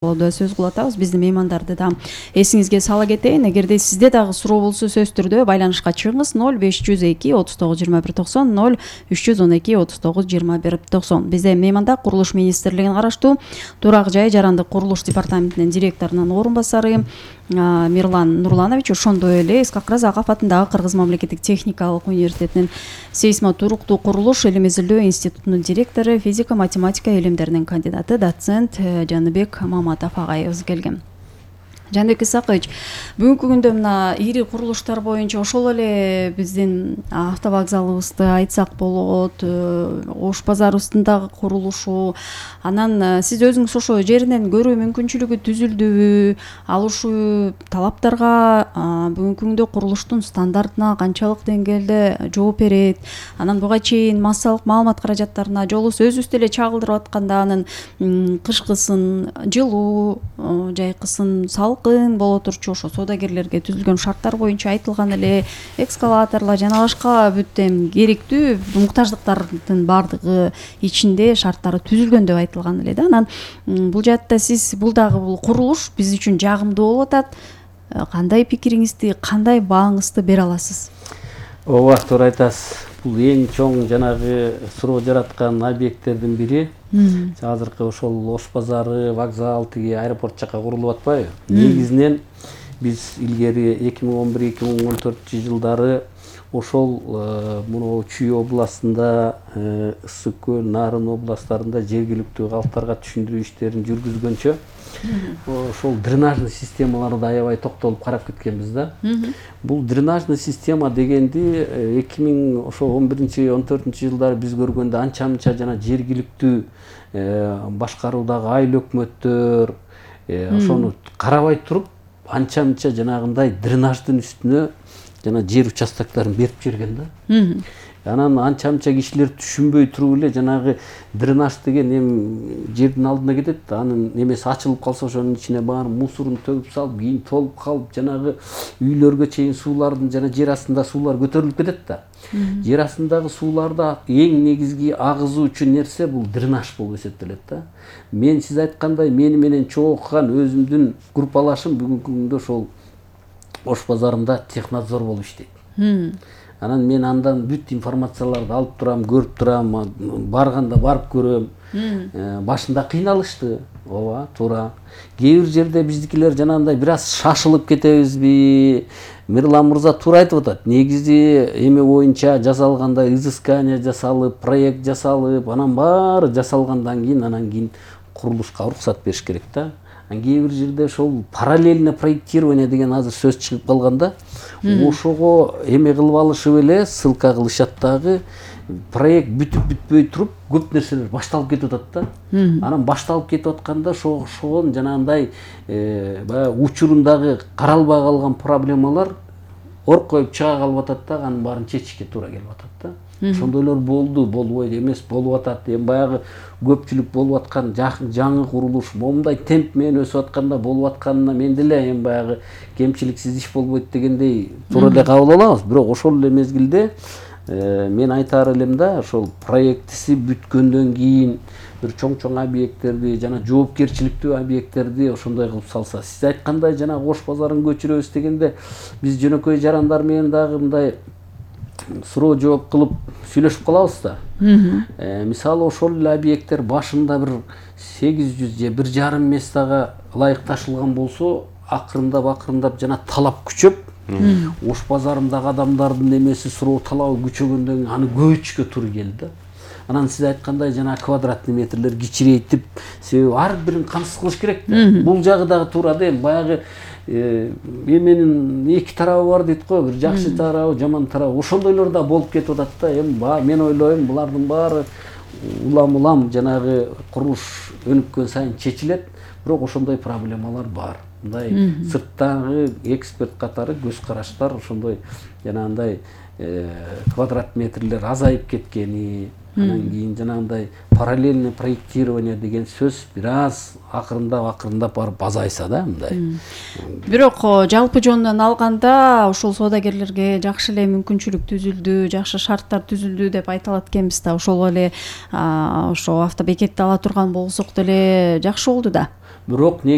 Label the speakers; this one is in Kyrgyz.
Speaker 1: Сөз кылып атабыз. Биздин меймандарды да эсиңизге сала кетейин. Эгерде сизде дагы суроо болсо сөз түрдө байланышка чыгыңыз. 0502 39 21 90 0312 39 21 90. Бизде мейманда Курулуш министрлигине караштуу Турак жай жарандык курулуш департаментинин директорунун орун басары Мирлан Нурланович, ошондой эле Исхак Разаков атындагы Кыргыз мамлекеттик техникалык университетинин сейсмотуруктуу курулуш илим изилдөө институтунун директору, физика-математика илимдеринин кандидаты, доцент Жаныбек Маматов агайыбыз келген. Жаныбек Исакович, бүгүнкү күндө мына ири курулуштар боюнча ошол эле биздин автовокзалыбызды айтсак болот, Ош базарыбыздын курулушу, анан сиз өзүңүз ошо жеринен көрүү мүмкүнчүлүгү түзүлдүбү, ал ушул талаптарга бүгүнкү күндө курулуштун стандартына канчалык деңгээлде жооп берет, анан буга чейин массалык маалымат каражаттарына жолубуз өзүбүз деле чагылдырып атканда анын кышкысын, жылуу, жайкысын салкын боло турчу ошо соодагерлерге түзүлгөн шарттар боюнча айтылган эле экскаваторлор жана башка бүт эми керектүү муктаждыктардын баардыгы ичинде шарттары түзүлгөн деп айтылган эле да. Анан бул жаатта сиз бул курулуш биз үчүн жагымдуу болуп атат. Кандай пикириңизди, кандай бааңызды бере аласыз?
Speaker 2: Ооба, туура айтасыз. Бул эң чоң жанагы суроо жараткан объекттердин бири. Азыркы ошол Ош базары, вокзал, тиги аэропорт жака курулуп атпайбы? Негизинен биз илгери 2011-2014 жылдары ошол муну Чүй областында, Ысык көл, Нарын областтарында жергиликтүү калктарга түшүндүрүү иштерин жүргүзгөнчө ошол дренажный системаларды аябай токтолуп карап кеткенбиз да. Бул дренажный система дегенди 2011-14 жылдары биз көргөндө анча-мынча жана жергиликтүү башкаруудагы айыл өкмөттөр ошону карабай туруп анча-мынча жанагындай дренаждын үстүнө жана жер участокторун берип жиберген да. Анан анча-мынча кишилер түшүнбөй туруп эле жанагы дренаж деген эми жердин алдына кетет, анын немеси ачылып калса ошонун ичине баары мусорун төгүп салып, кийин толуп калып, жанагы үйлөргө чейин суулардын жана жер астында суулар көтөрүлүп кетет да. Жер астындагы сууларда эң негизги агызуучу нерсе бул дренаж болуп эсептелет да. Мен сиз айткандай мени менен чогуу окуган өзүмдүн группалашым бүгүнкү күндө ошол Ош базарында технадзор болуп иштейт. Анан мен андан бүт информацияларды алып турам, көрүп турам, барганда барып көрөм. Башында кыйналышты. Ооба, туура. Кээ бир жерде биздикилер жанагындай бир аз шашылып кетебизби? Мирлан мырза туура айтып атат. Негизи эме боюнча жасалгандай изыскание жасалып, проект жасалып, анан баары жасалгандан кийин анан кийин курулушка уруксат бериш керек да. Кээ бир жерде ошол параллельно проектирование деген азыр сөз чыгып калганда, ошого эме кылып алышып эле ссылка кылышат дагы, проект бүтүп бүтпөй туруп көп нерселер башталып кетип атат да. Анан башталып кетип атканда ошогон жанагындай баягы учурундагы каралбай калган проблемалар оркоюп чыга калып атат да, анын баарын чечишке туура келип атат да. Ошондойлор болду, болбойт эмес, болуп атат. Эми баягы көпчүлүк болуп аткан жаңы курулуш момундай темп менен өсүп атканда болуп атканына мен деле эми баягы кемчиликсиз иш болбойт дегендей туура эле кабыл алабыз. Бирок ошол эле мезгилде мен айтаар элем да, ошол проектиси бүткөндөн кийин бир чоң объекттерди жана жоопкерчиликтүү объекттерди ошондой кылып салса. Сиз айткандай жанагы Ош базарын көчүрөбүз дегенде биз жөнөкөй жарандар менен дагы мындай суроо жооп кылып сүйлөшүп калабыз да. Мисалы ошол эле объекттер башында бир 800 же 1,5 местага ылайыкташылган болсо, акырындап жана талап күчөп, Ош базарындагы адамдардын эмеси суроо талабы күчөгөндөн аны көбөйтүшкө туура келди да. Анан сиз айткандай жана квадратный метрлер кичирейтип, себеби ар бирин камсыз кылыш керек да. Бул жагы дагы туура да, баягы эменин эки тарабы бар дейт го, бир жакшы тарабы, жаман тарабы. Ошондойлор да болуп кетип атат да. Эми мен ойлойм, булардын баары улам жанагы курулуш өнүккөн сайын чечилет, бирок ошондой проблемалар бар. Мындай сырттагы эксперт катары көз караштар ошондой жанагындай квадрат метрлер азайып кеткени, анан кийин жанагындай параллельный проектирование деген сөз бир аз акырындап барып азайса да мындай.
Speaker 1: Бирок жалпы жонунан алганда ошол соодагерлерге жакшы эле мүмкүнчүлүк түзүлдү, жакшы шарттар түзүлдү деп айта алат экенбиз да. Ошол эле ошо автобекетти ала турган болсок деле жакшы болду да.
Speaker 2: бирок